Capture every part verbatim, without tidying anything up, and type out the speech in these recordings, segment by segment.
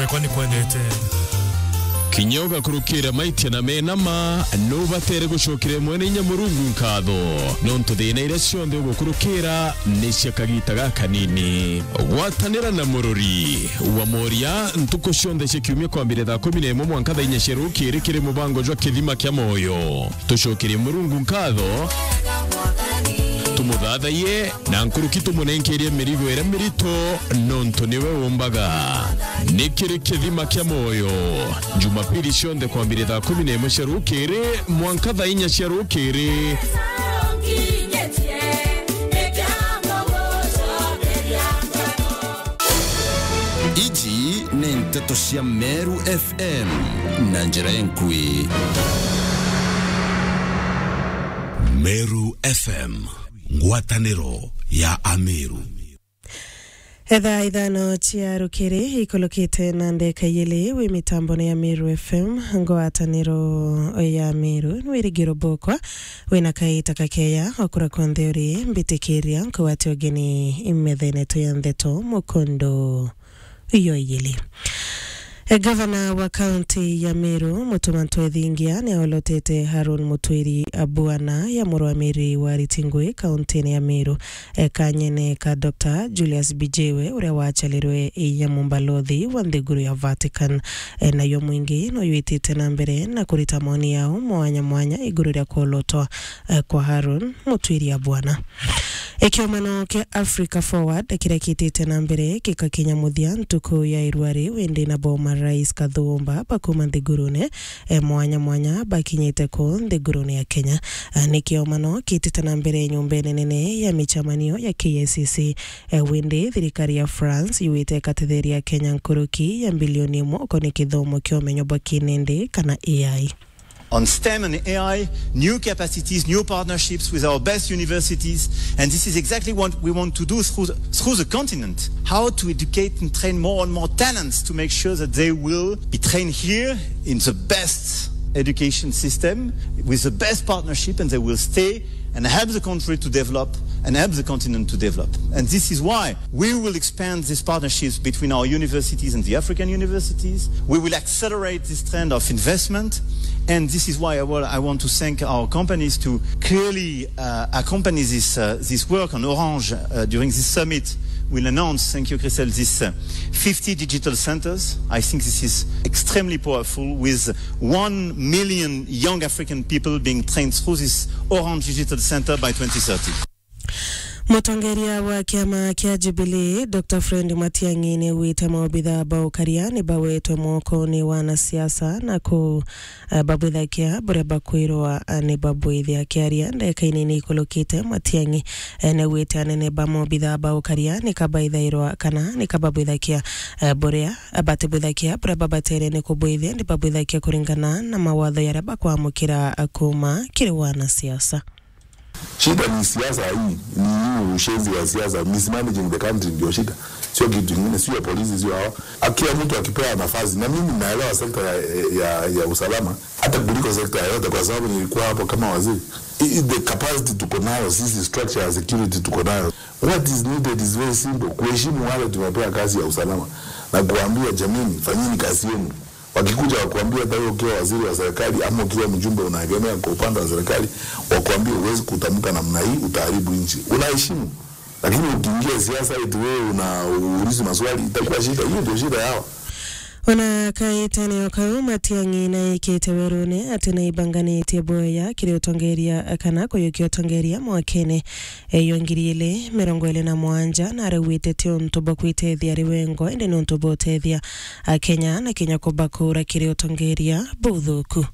Wekwa ni kwendete. Kinya ugakurukira maitia na mena ma, nubatere gucokera mwene inya Murungu nkatho, nontu thina iria cionthe ugukurukira ni cia kagita gakanini. Gwatanira na murori wa moria ntuku cionthe cia kiumia kwambire thaa kumi na imwe mwanka thaa inya cia rukiri kiri mubango jwa Kithima kia Moyo. Tucokerie Murungu nkatho, tumuthathaiye, na nkuruki tumunenkerie mirigo iria mirito, nontu niwe umbaga. Ni kiri Kithima kia Moyo, Jumapili cionthe kwambire thaa kumi na imwe cia rukiri mwanka thaa inya cia rukiri. Iji ni nteto cia Meru F M na njira enkui. Meru F M, ngwataniro ya Ameru. Etha ithano cia rukiri ikulukite na ndeka iyili wi mitambone ya Meru F M, ngwataniro ya Meru, ni wirigiro bukwa wina kaita kakeya okura konthe uri mbitikiria nkugwati ugeni imethene tu ya ntheto mukondo iyo iyili. E, gavana wa kaunti ya Meru, Mutuma Ntwethingia, ni aolotete Harun Mutwiri Abwana ya murwamiri wa Ritingwi kaunti-ini ya Meru, e, kanyene ka Doctor Julius Bijiwe, uria wacharirwe ya mumbalothi wa nthiguru ya Vatican. E, nayo mwingi no yitite na mbere na kurita maoni yao mwanya mwanya iguru ria kuolotwa, e, kwa Harun Mutwiri Abwana. Ikiumano kia Africa Forward kiria kitite na mbere gikakinya muthia ntuku ya irua riu, indi nabo marais kathumba bakuma nthigurune, e, mwanya mwanya bakinyite ku nthigurune ya Kenya. A, ni kiumano kitite na mbere nyumbene nene ya michamanio ya K I C C, e, windi thirikari ya France yuite ikatetheria Kenya nkuruki ya mbilioni imwe ukoni kithomo kia umenyo bwa kinindi kana A I. On STEM and A I, new capacities, new partnerships with our best universities, and this is exactly what we want to do through the, through the continent. How to educate and train more and more talents to make sure that they will be trained here in the best education system, with the best partnership, and they will stay and help the country to develop and help the continent to develop. And this is why we will expand these partnerships between our universities and the African universities. We will accelerate this trend of investment. And this is why I wa-, I want to thank our companies to clearly, uh, accompany this, uh, this work on Orange, uh, during this summit. We'll announce, thank you, Christelle, this, uh, fifty digital centers. I think this is extremely powerful, with one million young African people being trained through this Orange Digital Center by twenty thirty. Mutongeria wa kiama kia Jubilee, Doctor Fred Matiang'i, ni augite maobitha ba ukaria ni bawetwe mokone wa anasiasa na ku, eh, babwithakia buria bakwirwa, eh, ni babwithia. Akiaria ndeka inini ikulukite, Matiang'i, eh, ni augite anene ba maobitha ba ukaria ni kabaithairwa kana ni kababwithakia, eh, buria batibwithakia buria babatere ni kubwithia, ni babwithakia kuringana na mawatho yaria bakwamukira, eh, kuma kiri wanasiasa. Shida ni siasa hii, ni hii ushenzi ya siasa, mismanaging the country ndio shida. Sio kitu kingine, sio ya polisi, sio hawa. Akiwa mtu akipewa nafasi, na mimi naelewa sekta ya, ya, ya usalama, hata kuliko sekta yoyote, kwa sababu nilikuwa hapo kama waziri. I, i, the capacity tuko nayo, sisi structure ya security tuko nayo. What is needed is very simple, kuheshimu wale tumepewa kazi ya usalama na kuambia, "Jameni, fanyeni kazi yenu." Wakikuja wakuambia, hata wewe ukiwa waziri wa serikali ama ukiwa mjumbe unaegemea kwa upande wa serikali, wakuambie, "Huwezi kutamka namna hii, utaharibu nchi." Unaheshimu. Lakini ukiingia siasa eti wewe una uulizi maswali, itakuwa shida. Hiyo ndio shida yao. Ona kaitene o kau, Matiang'i naikite werune ati naibanganitie bwoya kiri utongeria kana kuyukia utongeria mwakene eyo ngiri ili mirongo ili na mwanja, na arauite ti untu bwa kwitethia ari wengo, indi ni untu bwa utethia Akenya na kinya kubakura kiri utongeria buthuku.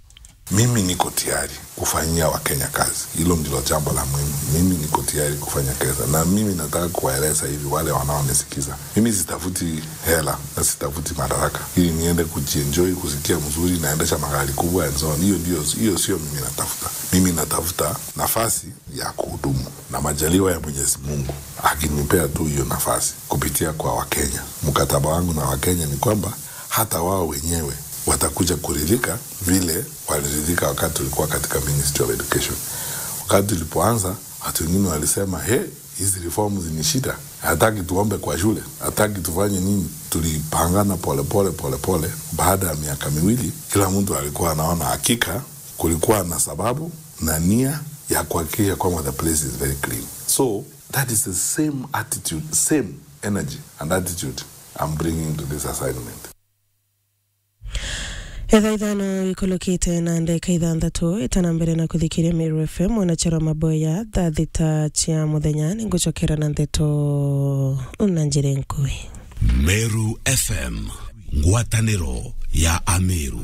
Mimi niko tayari kufanyia Wakenya kazi. Hilo ndilo jambo la muhimu. Mimi niko tayari kufanya kazi. Na mimi nataka kuwaeleza hivi, wale wanaonisikiza. Mimi sitafuti hela na sitafuti madaraka ili niende kujienjoy, kusikia mzuri, naendesha magari kubwa and so on. Hiyo ndio, hiyo sio mimi natafuta. Mimi natafuta nafasi ya kuhudumu. Na majaliwa ya Mwenyezi Mungu, akinipea tu hiyo nafasi kupitia kwa Wakenya. Mkataba wangu na Wakenya ni kwamba hata wao wenyewe watakuja kuridhika vile waliridhika wakati tulikuwa katika Ministry of Education. Wakati tulipoanza, watu wengine walisema, "He, hizi reforms ni shida." Hataki tuombe kwa shule, hataki tufanye nini. Tulipangana pole pole pole pole. Baada ya miaka miwili, kila mtu alikuwa anaona hakika kulikuwa na sababu na nia ya kuhakikisha kwamba the place is very clean. So that is the same attitude, same energy and attitude I'm bringing to this assignment. Etha ithano ikulukite na ndeka ithanthatu, itana mbere na kuthikiria Meru F M, mwanacharo maboya, thaa thita cia muthenya, ningucokera na ndeto na njira nkui. Meru F M, ngwataniro ya Ameru.